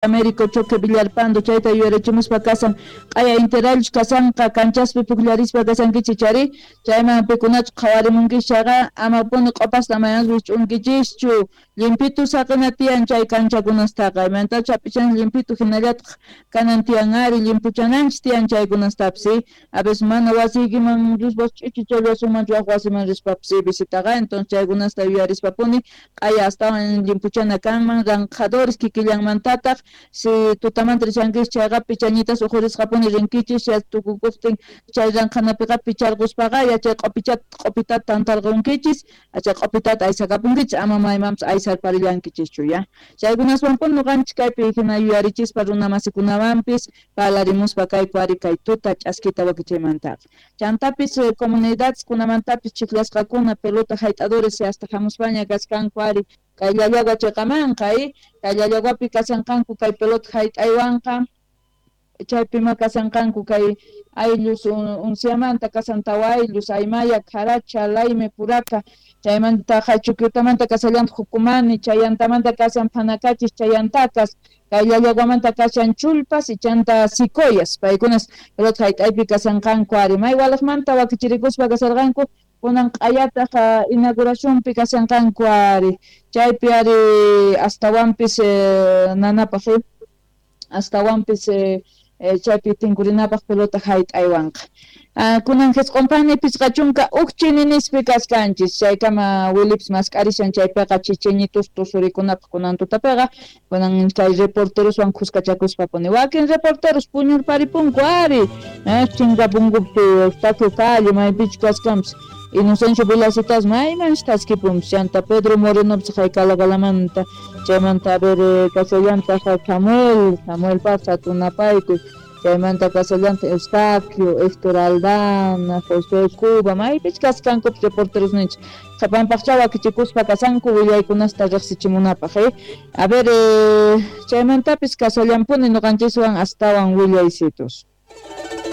Américo Choque Villalpando chayta yuyarichimuspa kasan q'aya interallus kasanqa kanchaspi pukllarispa kasankichis chari chayman pikunachu qhawarimunkichis chayqa amapuni q'opasta amayaspa wisch'unkichischu llimpitu saqina tiyan chay kanchakunastaqa imaynatachu hap'ichanchis llimpitu hinallataq kanan tiyan ari llimpuchananchis tiyan chaykunastapis a veces mana wasiykiman rispas ch'ichichallasunmanchu waj wasiman rispapis visitaqa entonces chaykunasta yuyarispapuni q'aya astawan llimpuchana kanman ranqhadores kikillanmantataq si tutamanta rishankichis chayqa pichañitas uqhurisqapuni rinkichis tukukuqtin chay ranqhanapiqa picharquspaqa yachay q'opitata tantarqunkichis chay q'opitata aysakapunkichis ama maymanpis aysarparillankichischu ya chaykunaswanpuni ñuqanchis kaypi hina yuyarichispa runa masikunawanpis parlarimuspa kayku ari kay tuta ch'askita wakichaymantaqa chantapis comunidades kunamantapis chiklasqakuna pelota hayt'adores hasta hamuspaña kasqanku ari kay Llallagua chiqamanqa kay Llallaguapi kashanqanku kay pelota hayt'aywanqa chaypima kashanqanku kay ayllus unciamanta kasan tawa ayllus Aymaya, Caracha, Laime, Puraca chaymanta Chuquiotamanta kasallantaq Jucumani chayantamanta kashan Phanacachis chayantakas kay Llallaguamanta kashan Chullpas y chanta Sicoyas paykunas pelota hayt'aypi kashanqanku ari may walaqmanta wakichirikuspa kasharqanku kunan q'ayataq inauguracionpi kashanqanku ari chaypi ari astawanpis nanapaq astawanpis chaypi tinkurinapaq pelota hayt'aywanqa kunan jisq'unpani 51 chininispi kaskanchis chaykama Wilipis mask'arishan chaypiqa chichiñitus tusurikunapaq kunan tutapiqa kunan kay reporteroswan khuskachakuspapuni wakin reporteros puñurparipunku ari chinkapunkupi Eustaquio Calle maypichu kaskanpis Inocencio Vilacitas maymanchis thaskipunpis chanta Pedro Morenopis Calagalamanta chaymanta a ver kashallantaq Samuel Paz hatunapaykuy chaymanta kashallantaq Eustaquio, Héctor Aldana, José Cuba maypichu kasqankupis reporteros ninchik qhapanpaqcha wakichikuspa kashanku willaykunasta riqsichimunapaq a ver chaymantapis kashallanpuni ñuqanchiswan astawan willaysitos.